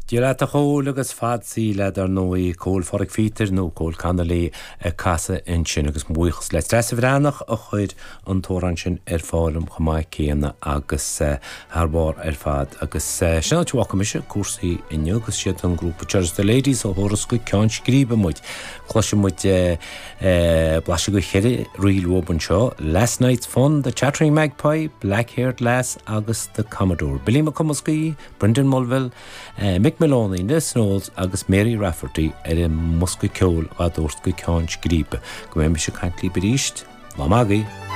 Dia leat a Chóil agus fad saoil leat ar ndóigh, Cóil Phádraic Phíotair nó Cóil Connolly ag casadh ansin agus mo bhuíochas le Treasa Bhreathnach a chuir an t-amhrán sin ar fáil dom chomh maith céanna agus thar barr ar fad. Agus sin an áit a bhfágfaidh mise cúrsaí inniu agus siad an grúpa Church Ladies a thabharfas go Ceann Scríbe muid. Cloisfidh muid blaiseadh de cheithre ríl uathub anseo, Last Night's Fun, The Chattering Magpie, Black Haired Lass agus The Commodore. Billy Mac Cumascaí, Brendan Mulville, Mick Moloney, Ned Knowles agus Mary Rafferty ar an mbosca ceoil dhá dtabhairt go Ceann Scríbe. Go mbeidh mise ag caint libh arís, lá maith agaibh!